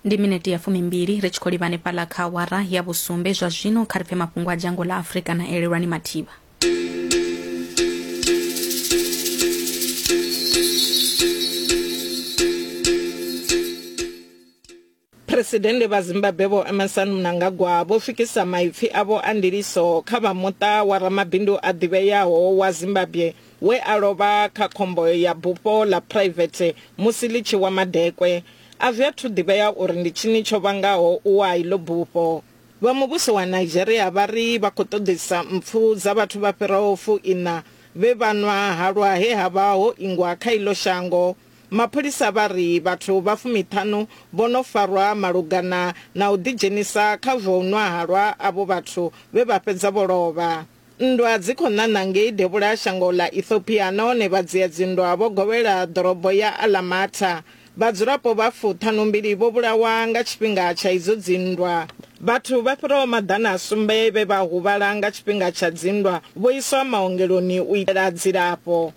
Ndi minete ya fumimbili ri tshi khou livha hanefhaḽa kha awara ya vhusumbe zwa zwino. Kha ri pfe mafhungo a dzhango ḽa Afrika na Elelwani Mathivha. Phresidennde vha Zimbabwe Vho Emmerson Mnangagwa vho swikisa maipfi avho a ndiliso kha vha muṱa wa ramabindu a ḓivheaho wa Zimbabwe we a lovha kha khombo ya bufho ḽa phuraivethe musi ḽi tshi wa madekwe. A zwi athu ḓivhea uri ndi tshini tsho vhangaho u wa ha iḽo bufho. Vha muvhuso wa Nigeria vha ri vha khou ṱoḓisa mpfu dza vhathu vha fhiraho fuiṋa vhe vha nwa halwa he ha vha ho ingwa kha iḽo shango. Mapholisa vha ri vhathu vha fumiṱhanu vho no farwa malugana na u ḓidzhenisa kha zwa u nwa halwa avho vhathu vhe vha fhedza vho lovha. Nndwa dzi khou ṋaṋa ngei devhula ha shango ḽa Ethiopia nahone vhadzia-dzinndwa vho govhela ḓorobo ya Alamata. Vhadzulapo vha fuṱhanumbili vho vhulawa nga tshifhinga tsha idzo dzinndwa. Vhathu vha fhiraho maḓana a sumbe vhe vha huvhala nga tshifhinga tsha dzinndwa vho iswa maongeloni u itela dzilafho.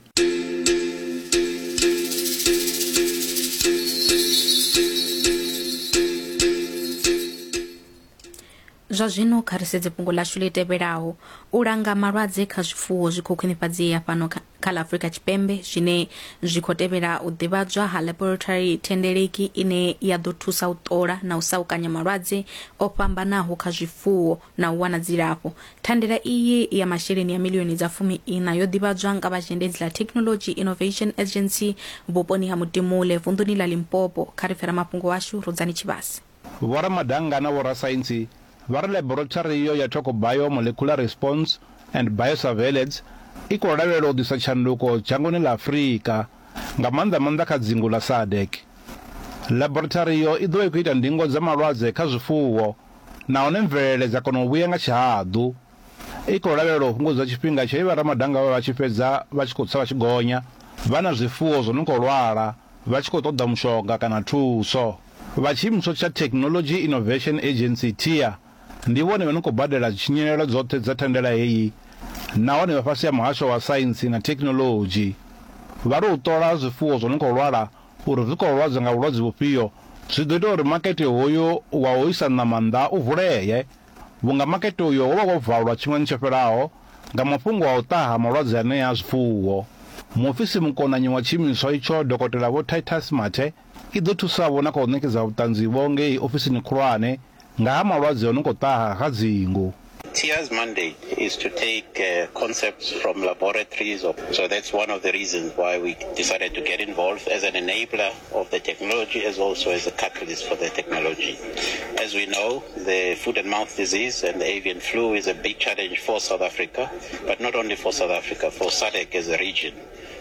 Zwa zwino kha ri sedze fhungo ḽashu ḽi tevhelaho. U langa malwadze kha zwifuwo zwi khou khwinifhadzea fhano kha ḽa Afrika Tshipembe zwine zwi khou tevhela u ḓivhadzwa ha laboratory thendeleki ine ya ḓo thusa u ṱola na u saukanya malwadze o fhambanaho kha zwifuwo na u wana dzilafho. Thandela iyi ya masheleni ya miḽioni dza fumi iṋa yo ḓivhadzwa nga vha zhendedzi ḽa Technology Innovation Agency vhuponi ha Mutimule vunḓuni ḽa Limpopo. Kha ri pfe ramafhungo washu Rudzani Tshivhase. Vhoramadanga na vhorasaintsi vha ri ḽaborethari iyo ya Tokobio Molecular Response and Biosurveillance i khou lavhelelwa u ḓisa tshanduko dzhangoni ḽa Afrika, nga maanḓa-maanḓa kha dzingu ḽa SADC. Ḽaborethari iyo i ḓo vha i khou ita ndingo dza malwadze kha zwifuwo nahone mvelele dza kona u vhuya nga tshihaḓu. I khou lavhelelwa u fhungudza tshifhinga tshe vhoramadanga vha vha tshi fhedza vha tshi khou tsa vha tshi gonya vha na zwifuwo zwo no khou lwala vha tshi khou ṱoḓa mushonga kana thuso. Vha tshiimiswa tsha Technology Innovation Agency, TIA, ndi vhone vha no khou badela tshinyalelo dzoṱhe dza thandela heyi nahone vha fhasi ha Muhasho wa Saintsi na Thekhinoḽodzhi. Vha ri u ṱola zwifuwo zwo no khou lwala uri zwi khou lwadzwa nga vhulwadze vhufhio zwi ḓo ita uri makete hoyu wa u isa ṋama nnḓa u vulee vhunga makete uyo wo vha wo valwa tshifhingani tsho fhelaho nga mafhungo a u ṱaha ha malwadze anea a zwifuwo. Muofisi mukonanyi wa tshiimiswa itsho Dokotela Vho Titus Mathe i ḓo thusa-vho na kha u ṋekedza vhuṱanzi-vho ngei ofisini khulwane nga ha malwadze o no khou ṱaha kha dzingu. TIA's mandate is to take concepts from laboratories, so that's one of the reasons why we decided to get involved as an enabler of the technology as also as a catalyst for the technology. As we know, the foot and mouth disease and the avian flu is a big challenge for South Africa, but not only for South Africa, for SADC as a region.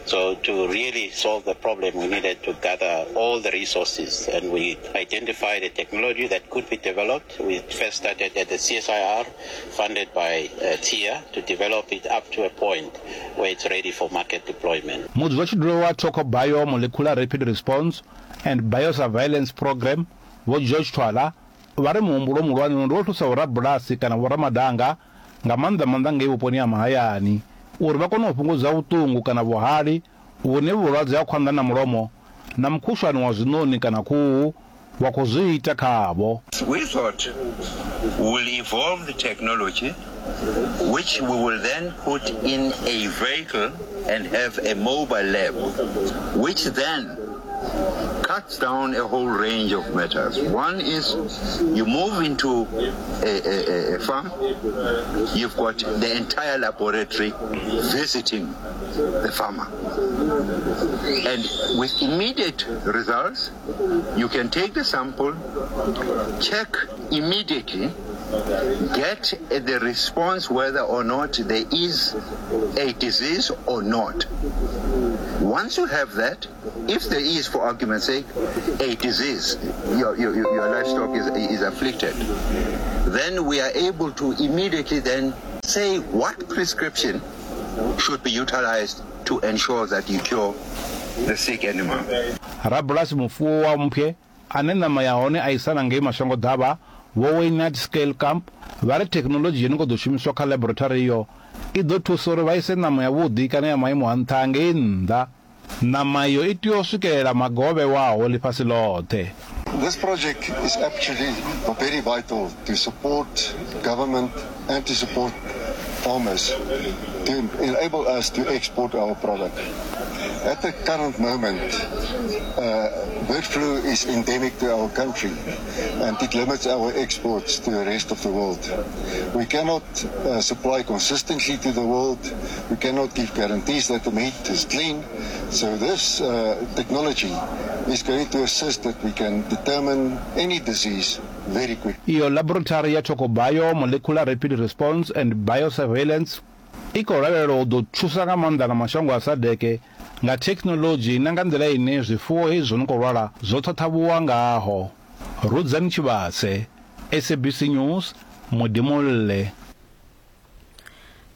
So to really solve the problem, we needed to gather all the resources, and we identified a technology that could be developed. We first started at the CSIR, funded by uh, TIA, to develop it up to a point where it's ready for market deployment. Mudzulatshidulo wa Thoko Bio Molecular Rapid Response and Biosurveillance Programme, Vho George Twala, vha ri muhumbulo muhulwane ndi wa u thusa vhorabulasi kana vhoramadanga nga maanḓa-maanḓa ngei vhuponi ha mahayani, uri vha kone u fhungudza vhuṱungu kana vhuhali vhune vhulwadze ha khwanḓa na mulomo na mukhushwane wa zwiṋoni kana khuhu wa khou zwi ita khavho. We thought we will evolve the technology which we will then put in a vehicle and have a mobile lab which then cuts down a whole range of matters. One is you move into a, a, a farm, you've got the entire laboratory visiting the farmer. And with immediate results, you can take the sample, check immediately, get the response whether or not there is a disease or not. Once you have that, if there is, for argument's sake, a disease, your, your, your livestock is, is afflicted, then we are able to immediately then say what prescription should be utilized to ensure that you cure the sick animal. Rabulasi mufuwi wa mphwe ane ṋama ya hone a isa na ngei mashango-ḓavha, Vho Wynard Scalekamp, vha ri thekhinoḽodzhi yo no khou ḓo shumiswa kha ḽaborethari iyo i ḓo thusa uri vha ise ṋama yavhuḓi kana ya maimo a nṱha ngei nnḓa. Ṋama iyo i tea u swikelela maga o vhewaho ḽifhasi ḽoṱhe. This project is actually very vital to support government and to support farmers to enable us to export our product. At the current moment, bird flu is endemic to our country and it limits our exports to the rest of the world. We cannot supply consistently to the world. We cannot give guarantees that the meat is clean. So this technology is going to assist that we can determine any disease very quickly. Iyo Laboratory ya Tokobio Molecular Rapid Response and Biosurveillance i khou lavhelelwa u ḓo thusa nga maanḓa na mashango a SADC nga thekhinoḽodzhi na nga nḓila ine zwifuwo hezwi zwo no khou lwala zwo ṱhaṱhavhuwa ngaho. Rudzani Tshivhase, SABC News, Modimolle.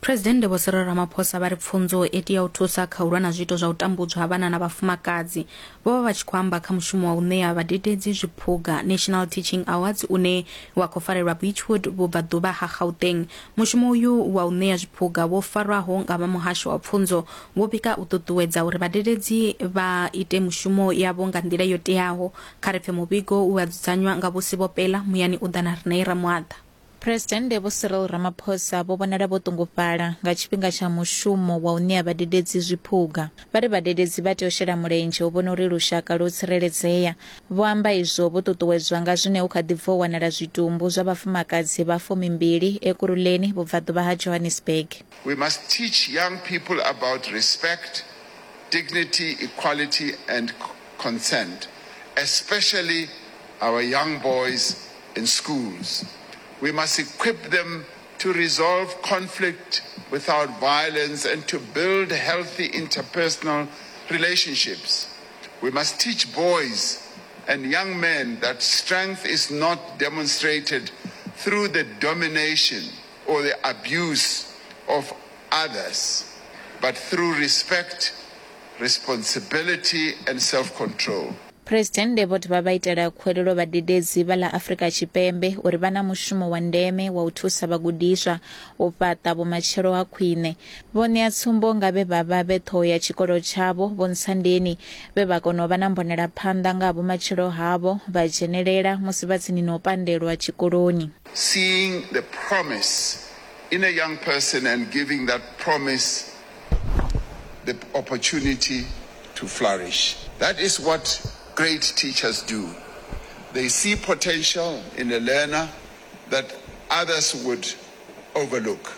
Phresidennde Vho Cyril Ramaphosa vha ri pfunzo i tea u thusa kha u lwa na zwiito zwa u tambudzwa ha vhana na vhafumakadzi. Vho vha vha tshi khou amba kha mushumo wa u ṋea vhadededzi zwiphuga National Teaching Awards une wa khou farelwa Beachwood vhubvaḓuvha ha Gauteng. Mushumo uyu wa u ṋea zwiphuga wo farwaho nga vha muhasho wa pfunzo wo pika u ṱuṱuwedza uri vhadededzi vha ite mushumo yavho nga nḓila yo teaho. Kha ri pfe muvhigo we wa dzudzanywa nga Vho Sibopela muyani u ḓa na Rine Ramuaḓa. Phresidennde Vho Cyril Ramaphosa vho vhonala vho ṱungufhala nga tshifhinga tsha mushumo wa u ṋea vhadededzi zwiphuga. Vha ri vhadededzi vha tea u shela mulenzhe u vhona uri lushaka lwo tsireledzea. Vho amba izwo vho ṱuṱuwedzwa nga zwine hu kha ḓi bva u wanala zwitumbu zwa vhafumakadzi vha fumimbili Ekurhuleni, vhubvaḓuvha ha Johannesburg. We must teach young people about respect, dignity, equality and consent, especially our young boys in schools. We must equip them to resolve conflict without violence and to build healthy interpersonal relationships. We must teach boys and young men that strength is not demonstrated through the domination or the abuse of others, but through respect, responsibility and self-control. Phresidennde vho dovha vha itela khuwelelo vhadededzi vha ḽa Afrika Tshipembe uri vha na mushumo wa ndeme wa u thusa vhagudiswa u fhaṱa vhumatshelo ha khwine. Vho ṋea tsumbo nga vhe vha vha vhe ṱhoho ya tshikolo tshavho, Vho Ntshandeni, vhe vha kona u vha na mbonelaphanḓa nga ha vhumatshelo havho vha dzhenelela musi vha tsini na u pandelwa tshikoloni. Seeing the promise in a young person and giving that promise the opportunity to flourish. That is what great teachers do. They see potential in a learner that others would overlook.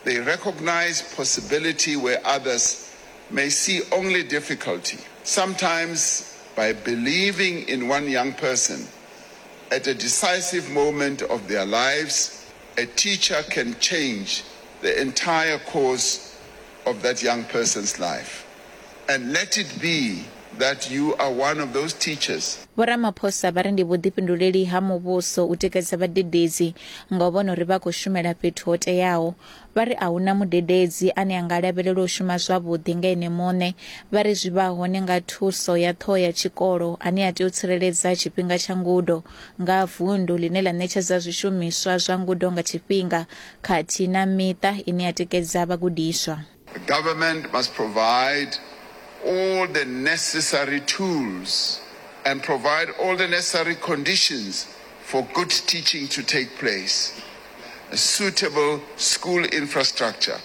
They recognize possibility where others may see only difficulty. Sometimes by believing in one young person at a decisive moment of their lives, a teacher can change the entire course of that young person's life. And let it be that you are one of those teachers. Vho Ramaphosa vha ri ndi vhuḓifhinduleli ha muvhuso u tikedza vhadededzi nga u vhona uri vha khou shumela fhethu ho teaho. Vha ri a hu na mudededzi ane a nga lavhelelwa u shuma zwavhuḓi nga ene muṋe. Vha ri zwi vha hone nga thuso ya ṱhoho ya tshikolo ane a tea u tsireledza tshifhinga tsha ngudo nga vundu ḽine ḽa ṋetshedza zwishumiswa zwa ngudo nga tshifhinga khathihi na miṱa ine ya tikedza vhagudiswa. The government must provide all the necessary tools and provide all the necessary conditions for good teaching to take place. A suitable school infrastructure.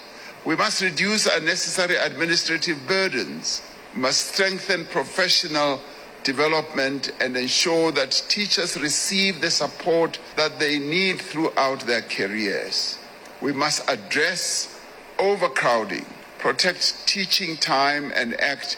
We must reduce unnecessary administrative burdens. We must strengthen professional development and ensure that teachers receive the support that they need throughout their careers. We must address overcrowding, protect teaching time and act,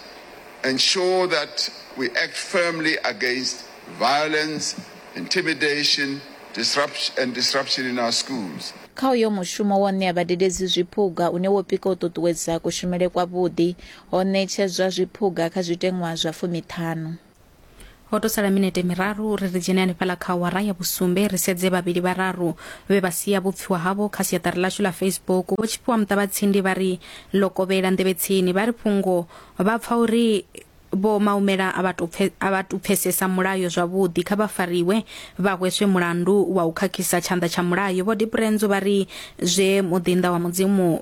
ensure that we act firmly against violence, intimidation, disruption and disruption in our schools. Kha uyo mushumo wa u ṋea vhadededzi zwiphuga une wo pika u ṱuṱuwedza kushumele kwavhuḓi, ho ṋetshedzwa zwiphuga kha zwiteṅwa zwa fumiṱhanu. Ho tou sala minete miraru uri ri dzhene hanefhaḽa kha awara ya vhusumbe ri sedze vhavhili vhararu vhe vha sia vhupfiwa havho kha siaṱari ḽashu ḽa Facebook. Vho Tshifhiwa Muṱavhatsindi vha ri ḽo kovhela nḓevhe tsini vha ri fhungo vha pfa uri. Vho Maumela a vha tou a vha tou pfesesa mulayo zwavhuḓi, kha vha fariwe vha hweswe mulandu wa u khakhisa tshanḓa tsha mulayo. Vho Dipurenzo vha ri zwe muḓinḓa wa Mudzimu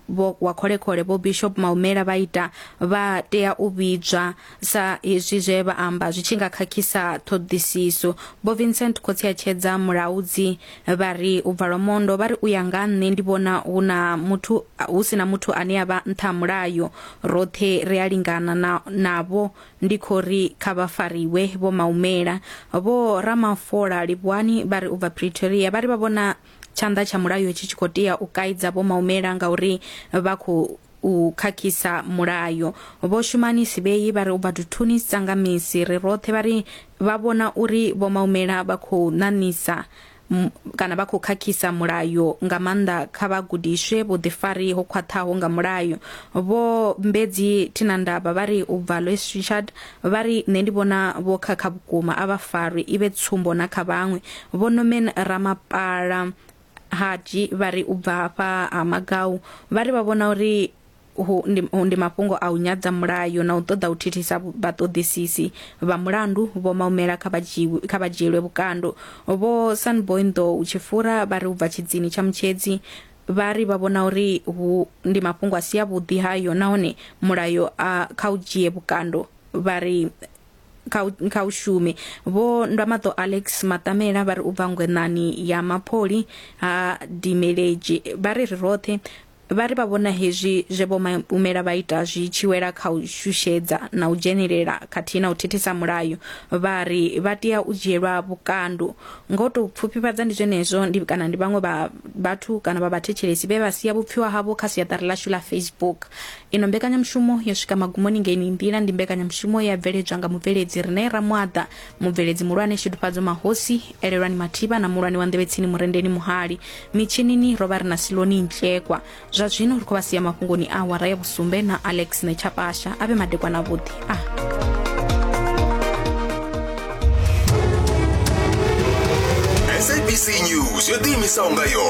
vho wa kholekhole Vho Bishop Maumela vha ita vha tea u vhidzwa sa hezwi zwe vha amba zwi tshi nga khakhisa ṱhoḓisiso. Vho Vincent Khotsiatshedza Mulaudzi vha ri u bva Lwamondo vha ri u ya nga nṋe ndi vhona hu na muthu hu si na muthu ane a vha nṱha ha mulayo roṱhe ri a lingana na navho ndi khou ri kha vha fariwe vho Maumela. Vho Ramafola Livhuwani vha ri u bva Pretoria vha ri vha vhona tshanḓa tsha mulayo tshi tshi khou tea u kaidza Vho Maumela ngauri vha khou u khakhisa mulayo. Vho Shumani Sibei vha ri u bva Duthuni Tsangamisi ri roṱhe vha ri vha vhona uri Vho Maumela vha khou ṋaṋisa kana vha khou khakhisa mulayo nga maanḓa kha vha gudiswe vhuḓifari ho khwaṱhaho nga mulayo. Vho Mbedzi Thinandavha vha ri u bva Louis Richard vha ri nṋe ndi vhona vho khakha vhukuma a vha farwe i vhe tsumbo na kha vhaṅwe. Vho Norman Ramapala Haji vha ri u bva hafha ha Magau vha ri vha vhona uri hu ndi, ndi mafhungo a u nyadza mulayo na u ṱoḓa u thithisa vhaṱoḓisisi vha mulandu. Vho Maumela kha vha dzhiwe, kha vha dzhielwe vhukando. Vho Sunboy Nḓou Tshifura vha ri u bva Tshidzini tsha Mutshedzi vha ri vha vhona uri hu ndi mafhungo a si avhuḓi hayo nahone mulayo a kha u dzhie vhukando vha ri kha u, kha u shume. Vho Ndwamaṱo Alex Maṱamela vha ri u bva ngwenani ya Mapholi ha Dimeledzhi vha ri ri roṱhe vha ri vha vhona hezwi zwe Vho Maumela vha ita zwi tshi wela kha u shushedza na u dzhenelela khathihi na u thithisa mulayo. Vha ri vha tea u dzhielwa vhukando. Nga u tou pfufhifhadza ndi zwenezwo ndi kana ndi vhaṅwe vha vhathu kana vha vhathetshelesi vhe vha sia vhupfiwa havho kha siaṱari ḽashu ḽa Facebook. Ino mbekanyamushumo yo swika magumoni nga ino nḓila ndi mbekanyamushumo ye ya bveledzwa nga mubveledzi Rine Ramuaḓa, mubveledzi muhulwane Shudufhadzo Mahosi, Elelwani Mathivha na muhulwane wa nḓevhetsini Murendeni Muhali. Mitshinini ro vha ri na Siloni Ntlekwa. Zwa zwino ri khou vha sia mafhungoni a awara ya vhusumbe na Alex Nechapasha. A vhe madekwana avhuḓi. A. SABC News yo ḓiimisaho nga yoṱhe.